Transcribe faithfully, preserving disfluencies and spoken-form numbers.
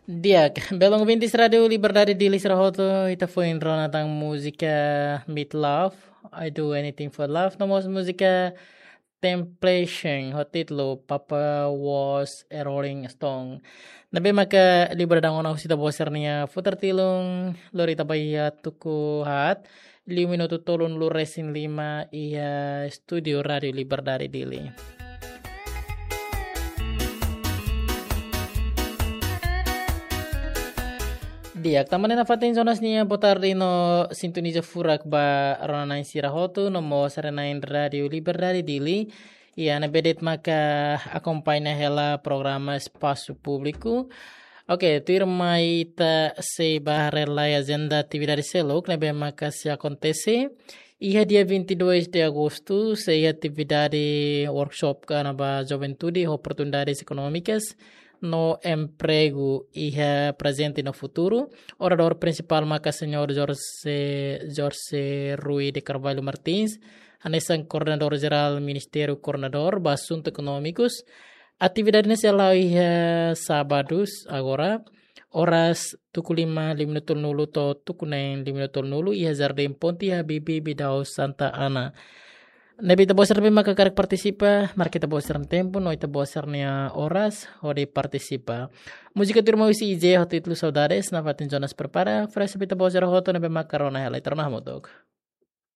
Di'ak, belun ouvintes Rádio Liberdade Dili sira hotu, ita foin rona tan múzika Meat Loaf, I Do Anything for Love, no mós múzika Temptation, ho títulu Papa Was a Rolling Stone. Ne'ebé maka liburan ona husi ita-boot sira-nia futar tilun, lori ita ba iha tuku haat, liu minutu tolunulu resin lima iha estúdiu Rádio Liberdade Dili. Di'ak, tanba ne'e nafatin Jonas nia boa tarde no sintoniza furak ba rona-na'in sira hotu, no mós haree-na'in Rádio Liberdade Dili. Iha ne'ebé de'it maka akompaña hela programa Espasu Públiku. Oke, tuirmai ita sei ba haree lai ajenda atividade seluk ne'ebé maka sei akontese. Iha dia vinte e dois de agosto, sei iha atividade workshop kona-ba juventude, oportunidades económicas no emprego iha prezente no futuru. Oradór prinsipál maka Señór Jorge, Jorge Rui de Carvalho Martins, hanesan Koordenadór Jerál Ministériu Koordenadór ba Asuntu Ekonómikus. Atividade ne'e sei hala'o iha sábadu agora, oras tuku lima liu minutu tolunulu to'o tuku neen liu minutu tolunulu iha Jardín Ponte Habibie Bidau Santa Ana. Ne'ebé ita-boot sira ne'ebé maka hakarak partisipa, marka ita-boot sira-nia tempu no ita-boot sira-nia oras hodi partisipa. Múzika tuirmai husi I J ho títulu Saudades, nafatin Jonas prepara, oferese ba ita-boot sira hotu ne'ebé maka rona hela, ita rona hamutuk.